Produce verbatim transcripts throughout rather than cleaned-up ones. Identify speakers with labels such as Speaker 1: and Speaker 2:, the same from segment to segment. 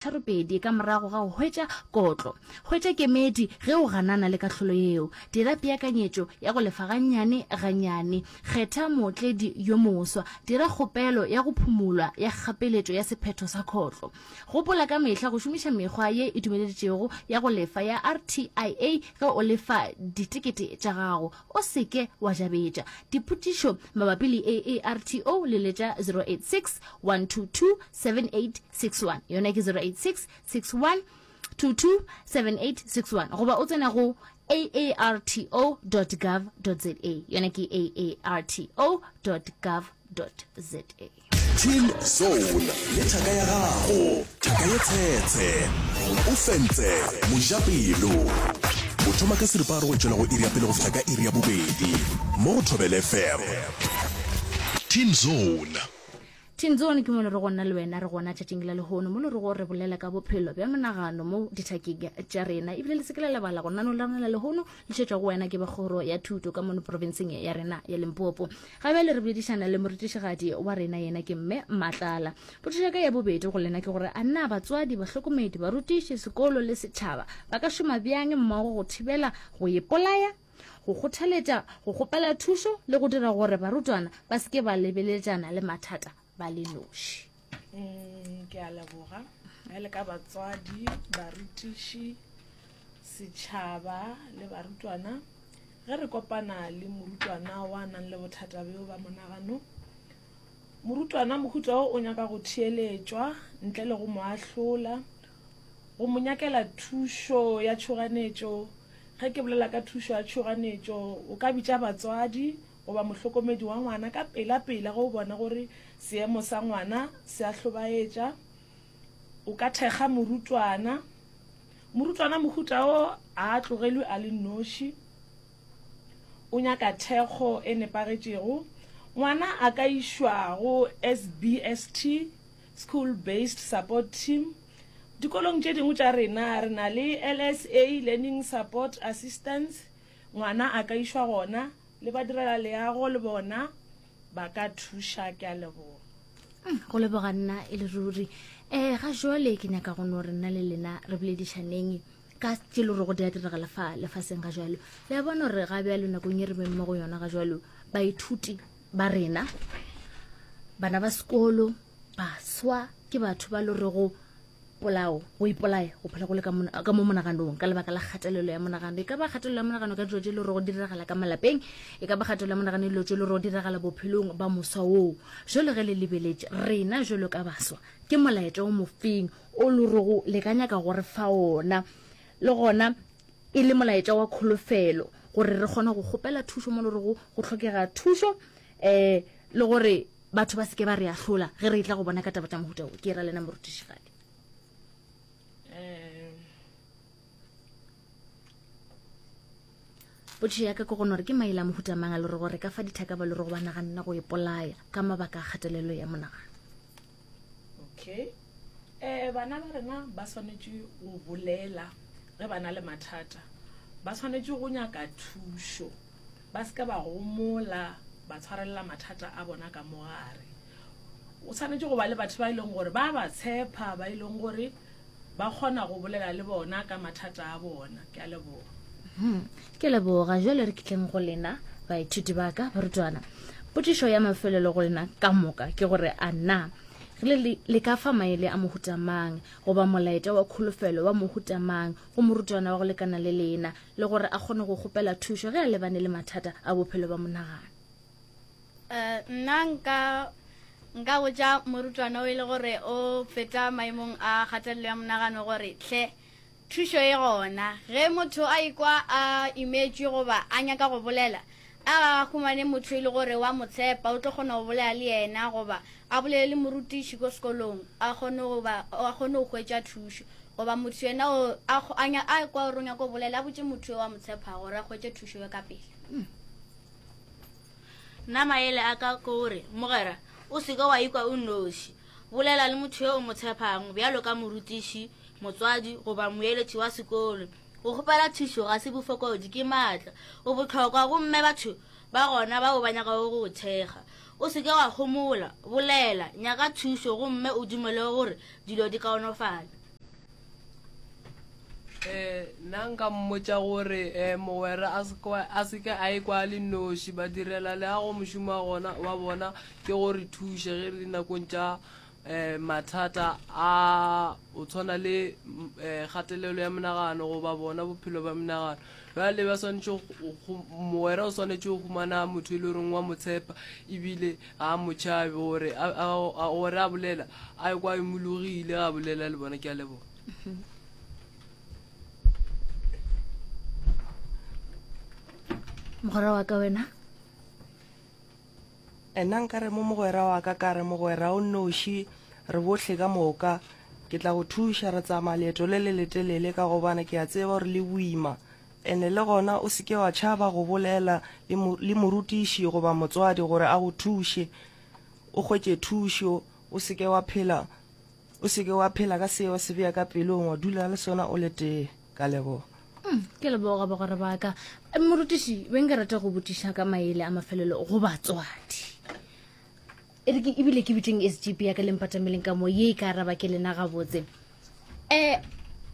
Speaker 1: Tharo-pedi ka morago ga go hwetša kotlo. Hwetša kemedi ge o ganana le kahlolo yeo. Dira peakanyetšo ya go lefa gannyane gannyane. Kgetha mootledi yo moswa. Dira kgopelo ya go phumolwa ya kgapeletšo ya sephetho sa kotlo. Gopola ka mehla go šomiša mekgwa ye e dumeleditšwego ya go lefa ya R T I A ge o lefa ditekete tša gago. O se ke wa jabetša. Dipotšišo mabapi le A A R T O, leletša zero eight six one two two seven eight six one, yona ke zero eight six six one two two seven eight six one, goba o tsena go A A R T O dot gov dot za, yona ke A A R T O dot gov dot za.
Speaker 2: Teen Zone le thaka ya gago, thaka ye tshetshe, o fentse mojapelo. O thoma ka seripagare go tšwela go iri ya pele go fihla ka iri ya bobedi mo go Thobela F M. Teen Zone.
Speaker 1: Teen Zone ke mo le re go nna le wena re gona tšatšing la lehono, mo le re go re bolela ka bophelo bja monagano mo dithakeng tša rena. Ebile le se ke la lebala go nano la rena la lehono le tšetšwa go wena ke ba kgoro ya thuto ka mono profenseng ya rena ya Limpopo. Ga bjale re boledišana le morutišigadi wa rena, yena ke Mme Matlala. Potšišo ka ya bobedi go lena ke gore a na batswadi, bahlokomedi, barutiši, sekolo le setšhaba ba ka šoma bjang mmogo go thibela go ipolaya, go kgothaletša go kgopela thušo le go dira gore barutwana ba se ke ba lebeletšana le mathata ba le noši?
Speaker 3: Mm, ke a leboga. Ge le ka batswadi, barutiši, setšhaba le barutwana, ge re kopana le morutwana wa nang le bothata bjo ba monagano, morutwana mohuta o o nyaka go theeletšwa ntle le go mo ahlola, go mo nyakela thušo ya tšhoganetšo. Ge ke bolela ka thušo ya tšhoganetšo, o ka bitša batswadi goba mohlokomedi wa ngwana ka pela pela ge o bona gore seemo sa ngwana se a hlobaetša. O ka thekga morutwana. Morutwana mohuta o a tlogelwe a le noši, o nyaka thekgo e nepagetšego. Ngwana a ka išwa go S B S T, school based support team. Dikolong tše dingwe tša rena re na le L S A, learning support assistance. Ngwana a ka išwa gona, le badirela leago le bona ba ka thuša. Ke a leboga.
Speaker 1: Mm, go leboga nna e le ruri. um ga jwale ke nyaka go no re nna le lena re boledišaneng ka tše le gore go di a diragala fa lefaseng ga jalo. Le a bona gore ga bjalo nakong e re beng mo go yona ga jalo, baithuti ba rena, bana ba sekolo, baswa, ke batho ba le rego polao, go ipolaya go phela go le ka mo monaganong ka lebaka la kgatelelo ya monagano. E ka ba kgatelelo ya monagano ka dilo tše le gore go diragala ka malapeng, e ka ba kgatelelo ya monagano dilo tše le gore go diragala bophelong ba moswa oo. Jalo ge le lebeletše rena jalo ka baswa, ke molaetša o mofeng o le rego le ka nyaka gore fa ona, le gona e le molaetša wa kholofelo gore re kgone go kgopela thušo mo le rego go tlhokega thušo, um le gore batho ba seke ba re ahlola ge re tla go bona ka taba tša mohuta o? Ke ra lena morutišigadi.
Speaker 3: um
Speaker 1: Potšišo ya ka ke gone gore ke maele a mohuta mang a le gore gore ka fa dithaka ba le gore ba naganna go ipolaya ka mabaka a kgatelelo ya monagano?
Speaker 3: Okay, um bana ba rena ba swanetše go bolela ge ba na le mathata, ba swanetše go nyaka thušo, ba se ka ba gomola ba tshwarelela mathata a bona ka mogare. O tshwanetše go ba le batho ba e leng gore ba ba tshepa, ba e leng gore ba kgona go bolela le bona ka mathata a bona. Ke a leboga.
Speaker 1: Hmm, ke leboga. Jale re kitleng go lena baithuti ba ka, barutwana. Potšišo ya mafelelo go lena ka moka ke gore a na re le le ka fa maele a mohuta mang goba molaetša wa kholofelo wa mohuta mang go morutwana wa go lekana le lena, le gore a kgone go kgopela thušo ge a lebane le mathata a bophelo ba monagano?
Speaker 4: Eh, nna nka nka botša morutwana o e le gore o feta maemong a kgatelelo ya monagano gore hle, thušo e gona. Ge motho a ikwa a imetšwe goba a nyaka go bolela, a humane motho e le gore wa mo tshepa, o tlo kgona go bolela le yena, goba a bolele le morutiši ko sekolong, a kgone go ba a kgone go hwetša thušo, goba motho yena o a a nya- a kwa gore o nyaka go bolela, a botse motho yo wa mo tshepa gore a hwetše thušo ya ka pele.
Speaker 5: Nna maele a ka ke gore, mogwera, o seke wa ikwa o noši. Bolela le motho yo o mo tshepang bjalo ka morutiši, motswadi goba moeletši wa sekolo. Go kgopela thušo ga se bofokodi, ke maatla. O bohlokwa gomme batho ba gona bao ba nyakago go go thekga. O seke wa homola, bolela, nyaka thušo gomme o dumele gore dilo di kaonofala.
Speaker 6: Eh, nna nka mmotša gore um mogwera a se kwa- a seke a ekwa a le noši. Badirela leago mošomo wa gona wa bona ke gore thuše ge re dinakong tša um mathata a o tshwana le um kgatelelo ya monagano goba bona bophelo ba monagano. Bjale ba swanetše go- go- mogwera o swanetše go humana motho e le goreng wa mo tshepa ebile ga a mo tšhabe gore a- a- a- gore a bolela a ekwa a imologile a bolela le bona. Ke a leboga.
Speaker 1: Mogwera wa ka wena?
Speaker 7: Nna nkare mo mogwera wa ka, ka re mogwera o nnoši, re bohle ka moka. Ke tla go thuša, re tsamaya leeto le le letelele ka gobane ke a tseba gore le boima. Ene le gona o seke wa tšhaba go bolela le mo- le morutiši goba motswadi gore a go thuše, o hwetše thušo. O seke wa phela, o seke wa phela ka seo se bea ka pelong, wa dula le sona o le tee. Ka leboga.
Speaker 1: Mm, ke leboga bagwera ba ka. Eh, morutiši, be nka rata go botšiša ka maele a mafelelo go batswadi. E re ke ebile ke bitseng S G P ya ka lempatameleng ka mo ye e ka araba ke lena gabotse. Um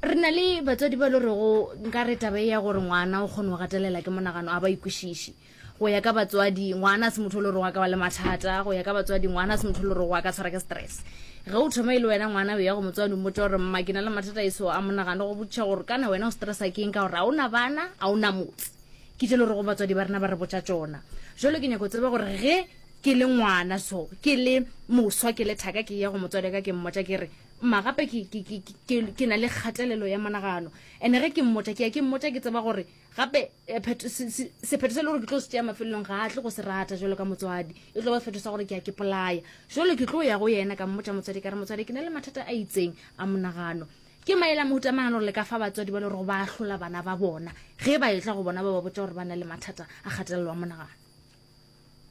Speaker 1: re na le batswadi ba le rego nka re taba e ya gore ngwana o kgone go gatelela ke monagano a ba ikwešiše. Go ya ka batswadi ngwana a se motho o le rego a ka ba le mathata, go ya ka batswadi ngwana a se motho o le rego a ka tshwara ke stress. Ge o thoma e le wena ngwana o ya go motswadi o mmotša gore mma ke na le mathata e so a monagano, go botšiša gore kana wena o stressa ke eng ka gore ga ona bana, ga ona motse. Ke tše le rego batswadi ba rena ba re botša tšona. Jwale ke nyaka go tseba gore ge ke le ngwana so, ke le moswa, ke le thaka, ke ya go motswadi ka ke mmotša ke re mma gape ke, ke, ke, ke, ke na le kgatelelo ya monagano. Ene ge ke mmotša, ke ya ke mmotša ke tseba gore gape, eh, phetho, se, se, sephetho se le gore ke tlo se tšea mafelelong ga a tle go se rata jwalo ka motswadi. E tlo ba sephetho sa gore ke ya ke polaya. Jwale ke tlo ya go yena ka mmotša motswadi ka re motswadi ke na le mathata a itseng a monagano. Ke maele a mohuta mang a le gore le ka fa batswadi ba le gore ba ahlola bana ba bona ge ba etla go bona ba ba botša gore ba na le mathata a kgatelelo a monagano?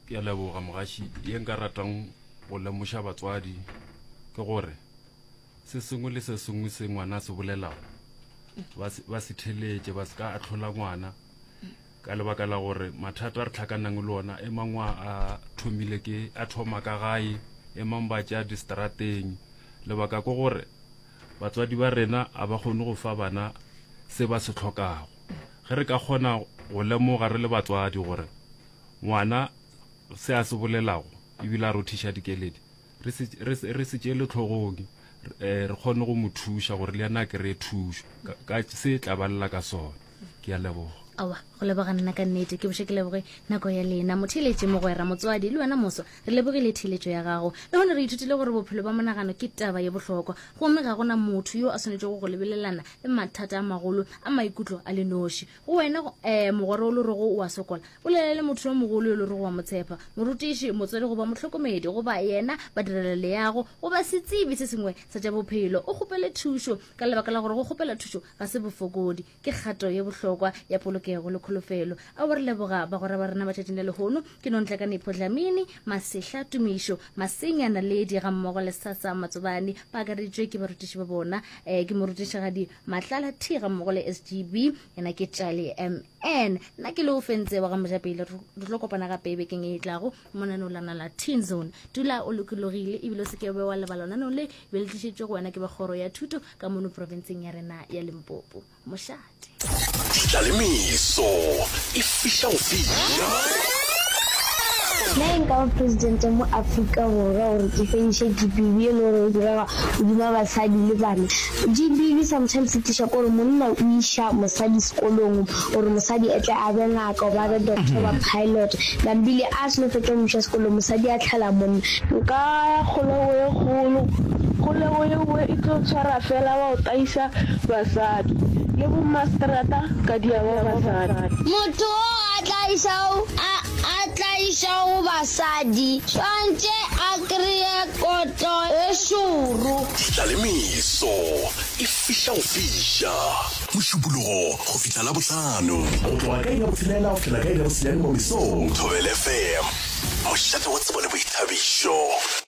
Speaker 8: Ke a leboga mogaši. Ye nka ratang go lemoša batswadi ke gore se sengwe le se sengwe se ngwana a se bolelago ba se, ba se theletše, ba se ka ahlola ngwana ka lebaka la gore mathata a re tlhakanang le ona e mangwe a thomile ke a thoma ka gae, e mang ba tšea distrateng. Lebaka ke gore batswadi ba rena a ba kgone go fa bana se ba se hlokago. Ge re ka kgona go lemoga re le batswadi gore ngwana se a se bolelago ebile a rothiša dikeledi, re se, re se, re se tšeele hlogong, eh, re kgone go mo thuša gore le yena a kry-e thušo ka, ka se tla ba lla ka sona. Ke a leboga.
Speaker 1: Aowa, go leboga nna ka nnete. Ke boše ke leboge nako ya lena. Motheeletši, mogwera, motswadi le wena moswa, re lebogile theeletšo ya gago. Le gone re ithutile gore bophelo ba monagano ke taba ye bohlokwa, gomme ga gona motho yo a swanetšego go lebelelana le mathata a magolo a maikutlo a le noši. Go wena, eh, mogwera o le rego o a sokola, bolela le motho yo mogolo yo le rego wa mo tshepa, morutiši, motswadi goba mohlokomedi, goba yena badirela leago, goba setsebi se sengwe sa tša bophelo. O kgopele thušo ka lebaka la gore go kgopela thušo ga se bofokodi, ke kgato ye bohlokwa ya polokego le kholofelo. A bo re leboga bagwera ba rena ba tšatšing la lehono. Ke Nontlakane Dlamini, Masehla Tumišo, Masenya Naledi ga mmogo le Sasa Matsobane, ba akareditšwe ke barutiši ba bona, eh, ke morutišigadi Matlala T ga mmogo le S G B, yena ke Tšale M N. Nna ke le o fentse wa ga Mojapele. Re tlo kopana gape bekeng e tlago monaneo lana la Teen Zone. Dula o lokologile ebile o se ke wa lebala lenaneo le be le tlišitšwe go wena ke ba kgoro ya thuto ka mono profenseng ya rena ya Limpopo. Mošate.
Speaker 2: Ditlalemeso e fiša go fiša.
Speaker 9: Nna e nka ba presidente mo Afrika Borwa gore ke fediše G B V e le gore e direga godima basadi le bana. G B V sometimes e tliša kore monna o iša mosadi sekolong gore mosadi e tle a be ngaka goba a be doctor goba pilot. Nambile a seno fetša go mo iša sekolong, mosadi a tlhala monna.
Speaker 10: Nka ya kgolego ye kgolo, kgolego ye nngwe e tlo tshwara fela wa go taisa basadi le bommaseterata ka diaba basadi.
Speaker 9: Motho o a tlaišago a, a tlaišago basadi swantše a kreye kotlo e šoro.
Speaker 2: Ditlalemeso e fiša go fiša. Mošupologo go fihla Labohlano. Go tloga ka iri ya botshelela go fihlela ka iri ya bosenyane mo mesong. Thobela F M, mošate wa tsebo le boithabišo.